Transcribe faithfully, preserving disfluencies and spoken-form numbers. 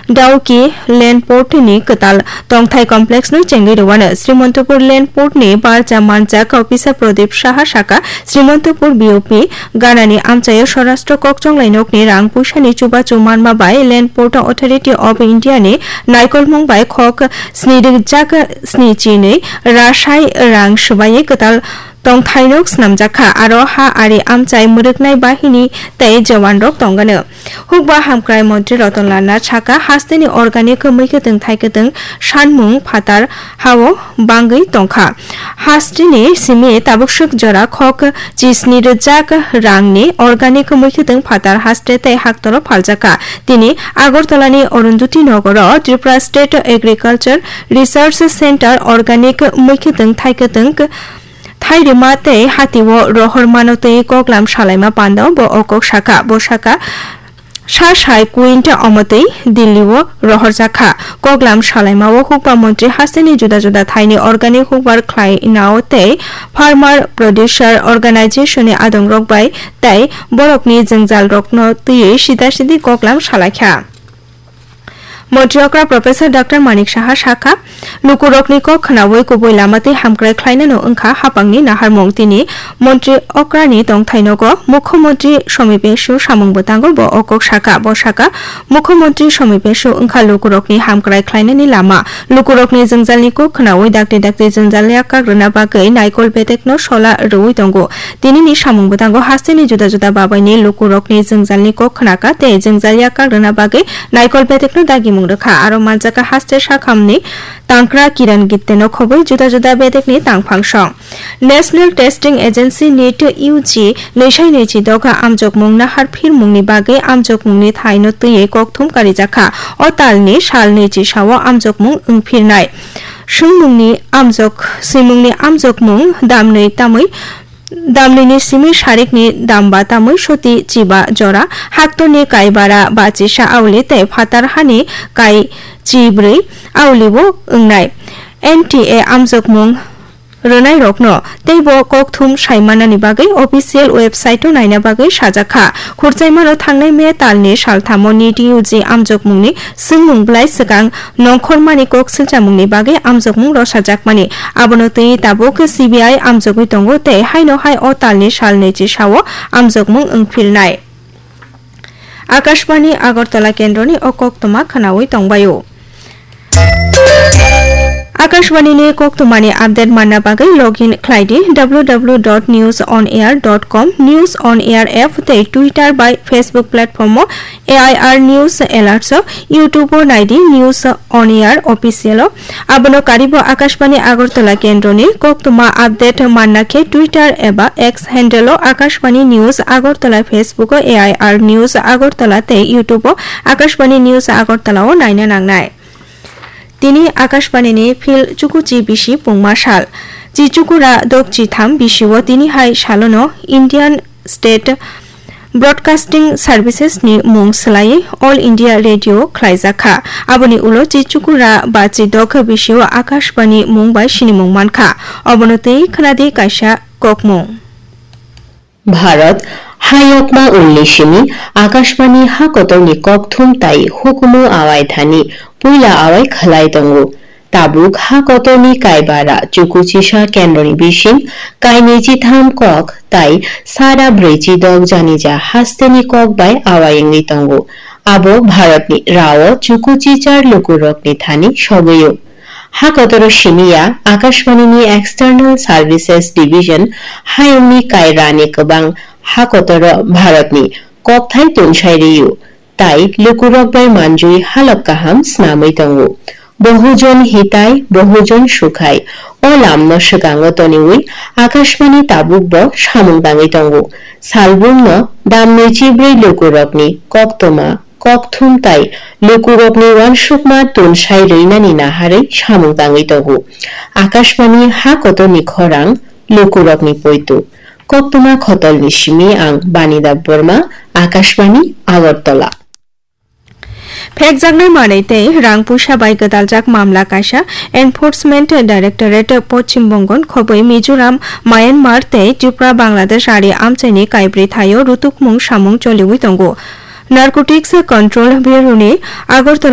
Dawki Land Port ni kwtal tongthai complex no chengwi rwano. Srimantopur Land Port ni barja manjak officer Pradip Saha saka, Srimantopur B O P ganani amchaio Swarashtra kokchonglai nokni rang puisani chubachu manma bai Land Port Authority of India ni naikolmung bai khok sni rijak sni chinwi rasai rang swbaiwi kwtal tongthainok snamjak kha, aro ha ari amchai mwrwknai bahini tei jawanrok tongano. Hukba hamkrai montri Ratan Lal Nath saka, hasteni organic mwkhwtwng thaikwtwng sanmung phatar hao bangwi tongkha. Hasteni simi tabukswk jora khok chisni rwjak rangni organic mwkhwtwng phatar haste tei haktoro phaljakha. Tini Agartala ni Arundhati Nogoro Tripura State Agriculture Research Centre organic mwkhwtwng thaikwtwng thairima tei hatio rohor mano twi koklam salaima panda bo o kok saka. Bo saka, sa sai quinta omotwi Delhi o rohorjak kha. Koklam salaima o hukba montri hasteni juda juda thaini organic hukbar khlainao tei farmer producer organization ni adongrok bai tei borokni jwngjalrokno twiwi sida sidi koklam salaikha. Montri okra Professor Doctor Manik Saha sakha, lukurokni kok khnaui kubui lama tei hamkrai khlainano wngkha hapangni naharmung. Tini montri okrani tongthai nogo Mukhyamantri Somi Pesu samung bwtango bo o kok sakha. Bo sakha, Mukhyamantri Somi Pesu wngkha lukurokni hamkrai khlainani lama. Lukurokni jwngjalni kok khnaui dakti dakti jwngjal yak kagrwna bagwi naikol bedekno sola rwui tongo. Tinini samung bwtango hasteni juda juda babaini lukurokni jwngjalni kok khnakha tei jwngjal yak kagrwna bagwi naikol bedekno dagimung rwkha. Aro manjakha haste sakhamni tangkra Kiran Gitteno khobwi juda juda bedekni tangphang song. National Testing Agency, nit, U G nwisai nwichi doga amjokmung nahar phirmungni bagwi amjokmungni thaino twiwi kokthum karijakha. O talni sal nwichi sao amjokmung wngphirnai. Swngmungni amjok, swimungni amjokmung damnwi tamwi Damnwini simi sarikni damba tamwi soti chiba jora, haktorni kaibara bachisa auli tei phatar hani kai chibrwi aulibo wngnai. N T A amjokmung rwnairokno teibo kokthum saimanani bagwi official website-o naina bagwi sajakha. Khurchaimano thangnai May talni salthamo nit U G amjokmungni swngmung bwlai swkang nongkhormani kok silchamungni bagwi amjokmung rosajakmani. Abono twi tabuk C B I amjogwi tongo tei haino hai o talni sal nwichi sao amjokmung wngphilnai. Akashbani Agartala kendroni o koktwma khwnaui tongbaio. Akashbani ni koktwmani update manna bagwi login khlai di W W W dot news on air dot com, News on Air app tei Twitter bai Facebook platform o A I R News Alerts o, YouTube o nai di News on Air Official o. Abono karibo Akashbani Agartala kendroni koktwma update manna khe Twitter eba X handle o Akashbani News Agartala, Facebook o A I R News Agartala tei YouTube o Akashbani News Agartala o naina nangnai. Tini Akashbani ni phil chukuchi bisi pungma sal. Chichukura dok chitham bisio tini hai salono Indian State Broadcasting Services ni mung swlaiwi All India Radio khlaijak kha. Aboni ulo chichukura ba chidok bisio Akashbani mung bai sinimung man kha. Obono twi khwnadi kaisa kokmung. Bharat hayokma ulni simi Akashbani hakotorni kokthum tai hukumu awai thani puila awai khlai tongo. Tabuk hakotorni kaibara chukuchisa kendroni bising kainwi chitham kok tai sara brwichi dok janija hasteni kok bai awai wngwi tongo. Abo Bharatni rao chukuchichar lukurokni thani sogwio. Hakotoro simiya Akashbani ni External Services Division hayungni kairani kwbang hakotoro Bharatni kokthai tunsai rio. Tai lukurok bai manjui halok kaham snamwi tongo. Bohujon hitai, bohujon sukhai. O lamno swkango toniwi Akashbani tabukbo samung tangwi tongo. Salbumno damnwi chibrwi lukurokni koktwma, kokthum tai lukurokni uansukma tunsai rwinani naharwi samung tangwi tongo. Akashbani ha kotorni khorang lukurokni poito. Koktwma khotolni simi ang Banida Borma, Akashbani, Agartala. Phekjaknai manwi tei rang puisa bai gwdaljak mamla kaisa Enforcement Directorate Poschim Bongon khobwi Mizoram, Myanmar tei Tripura, Bangladesh ari amchaini kaibrwi thaio rutukmung samung choliwi tongo. Narcotics Control Bureau ni Agartala